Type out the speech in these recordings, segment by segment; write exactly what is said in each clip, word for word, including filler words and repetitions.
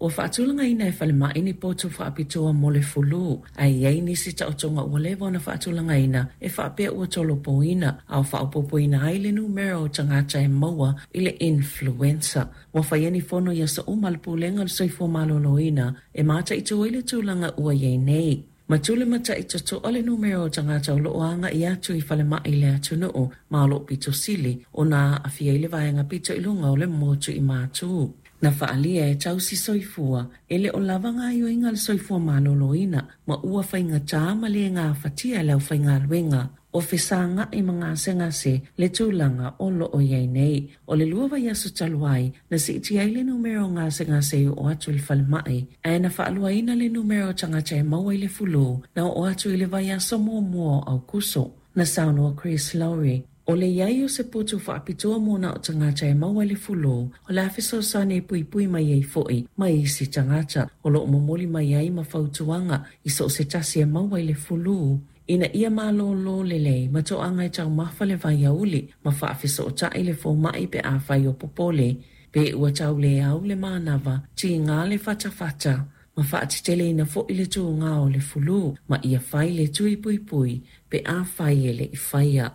Ua faatulagaina e falemai ni potu faapitoa mo le fulu, ae i ai nisi taotoga ua leva ona faatulagaina e faapea ua tolopoina a o faaopoopoina ai le numera o tagata e maua i le influenza. Ua faia ni fono i aso uma a le Pulega o le Soifua Maloloina e mataitu ai le tulaga ua i ai nei. Ma tulimatai totoa le numera o tagata o loo agai atu i falemai i le atunuu ma o loo pito sili ona aafia ai le vaega pito i luga o le motu i Matu. Na faaalia e tausi soifua e le o lava gaoioiga a le soifua maloloina ma ua faigata ma le gafatia e le aufaigaluega o fesagai ma gasegase le tulaga o loo i ai nei. O le lua vaiaso talu ai, na siitia ai le numera o gasegase e oo atu i le falemai, ae na faaluaina le numera o tagata e maua i le fulu na oo atu i le vaiaso muamua o Aokuso. Na saunoa Chris Lowry, o le iai o se potu faapitoa mo na o tagata e maua i le fulu, o le a fesoasoani e puipui mai ai foi mai isi tagata. O loo momoli mai ai ma fautuaga i so o se tasi e maua i le fulu, ina ia malōlō lelei ma toaga e taumafa le vaiauli ma faafesootai le fomai pe afai o popole. Pe ua tau le au le manava, tiga le fatafata, ma faateteleina foi le tugā o le fulu, ma ia fai le tui puipui pe afai e le i faia.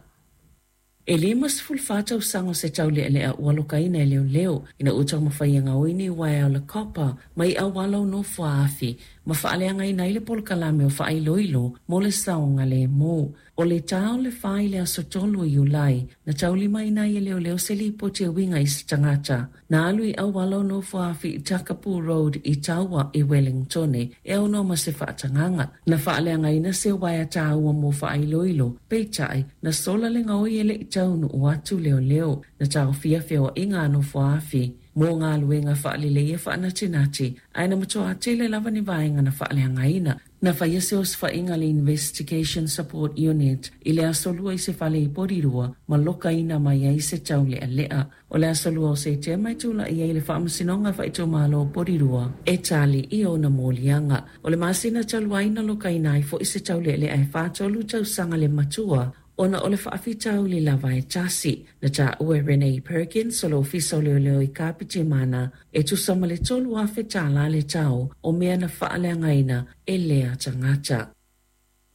E lima sefulu fa tausaga o se taulealea ua lokaina e leoleo ina ua taumafai e gaoi ni uaea o le copper mai auala o nofoaafi ma faaleagaina ai le polokalame o faailoilo mo le saogalemu. O le tā o le fa i le aso tolu o Iulai, na taulimaina ai e leoleo se lipoti e uiga i se tagata na alu i auala o nofoaafi i Takapu Road i Taua i Wellingtone e aunoa ma se faatagaga. Na faaleagaina se uaea taua mo faailoilo, peitai na sola le gaoi e le i taunuu atu leoleo. Na taofia feoaiga a nofoaafi mo galuega faaleleia faanatinati, ae na matua tele lava ni vaega na faaleagaina. Na faia se osofaiga a le Investigation Support Unit i le aso Lua i se fale i Porirua ma lokaina mai ai se taulealea. O le aso Lua o Setema e tulai ai le Faamasinoga Faaitumalo o Porirua e tali i ona moliaga. O le masina talu ai na lokaina ai foi se taulealea e fatolu tausaga le matua ona o le faafitauli lava e tasi. Na taua e Renee Perkins o le Ofisa o Leoleo i Kapitimana e tusa ma le tolu afe tālā le tau o mea na faaleagaina e lea tagata.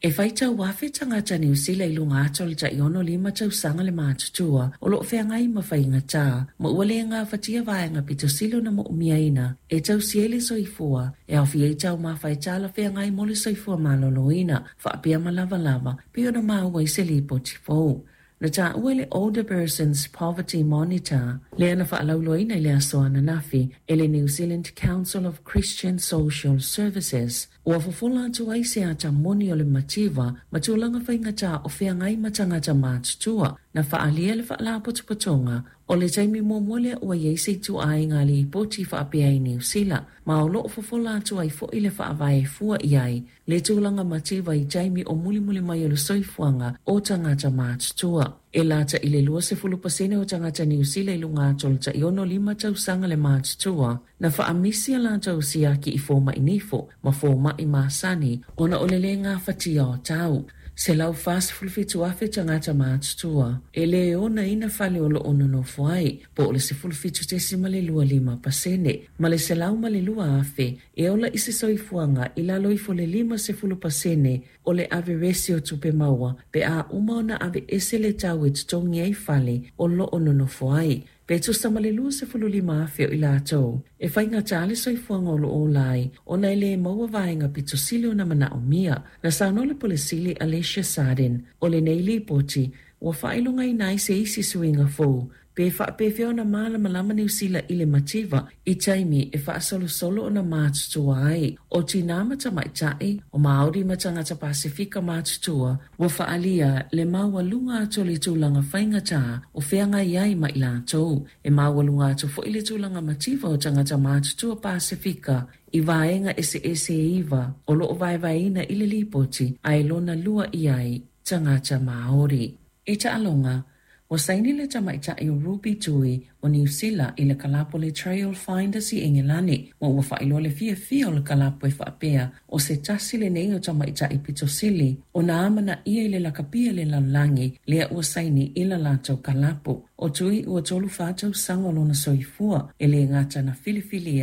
E faitau afe tagata Niu Sila i luga atu o le tai ono lima tausaga le matutua o loo feagai ma faigata ma ua le gafatia vaega pito sili ona moomiaina e tausia ai le soifua e aofia ai taumafa e talafeagai mo le soifua maloloina faapea ma lavalava pei ona maua i se lipoti fou. Na taua e le Older Persons Poverty Monitor lea na faalauiloaina i le aso ananafi e le New Zealand Council of Christian Social Services. Ua fofola atu ai se ata moni o le mativa ma tulaga faigata o feagai ma tagata matutua. Na faaalia le faalapotopotoga o le taimi muamua lea ua i ai se ituaiga lipoti faapea i Niu Sila, ma o loo fofola atu ai foi le faavae fua i ai le tulaga mativa i taimi o mulimuli mai o le soifuaga o tagata matutua. E lata i le lua sefulu pasene o tagata Niu Sila i luga atu o le tai ono lima tausaga le matutua na faamisi a latou siaki i fomai nifo ma fomai masani ona o le le gafatia o tau. Selau fasefulu fitu afe tagata matutua e le onaina fale o loo nonofo ai, po o le sefulu fitu tesima le lua lima pasene, ma le selau ma le lua afe e ola i se soifuaga i lalo ifo le lima sefulu pasene o le averesi o tupe maua pe a uma ona aveese le tau e totogi ai fale o loo nonofo ai. Pe tusa ma le lua sefulu lima afe o i latou e faigata le soifuaga o loo ola ai ona e le maua vaega pito sili ona manaomia. Na saunoa le Pule Sili Alicia Sarden o lenei lipoti ua faailogaina ai se isi suiga fou pe faapefea ona malamalama Niu Sila i le mativa i taimi e faasolosolo ona matutua ai. O tinā ma tamaitai, o Māori ma tagata Pasifika matutua ua faaalia le maualuga atu o le tulaga faigata o feagai ai ma i latou. E maualuga atu foi le tulaga mativa o tagata matutua Pasifika i vaega eseese e iva o loo vaevaeina i le lipoti ae lona lua i ai tagata Māori. I taaloga, ua saini le tamaitai o Ruby Tui o Niu Sila i le kalapo le Trail Finders i Engelani, ma ua faailoa le fiafia o le kalapo e faapea o se tasi lenei o tamaitai pito sili ona amanaia i le lakapia le lalolagi lea ua saini i la latou kalapo. O Tui ua tolu fa tausaga o lona soifua e le gata na filifilia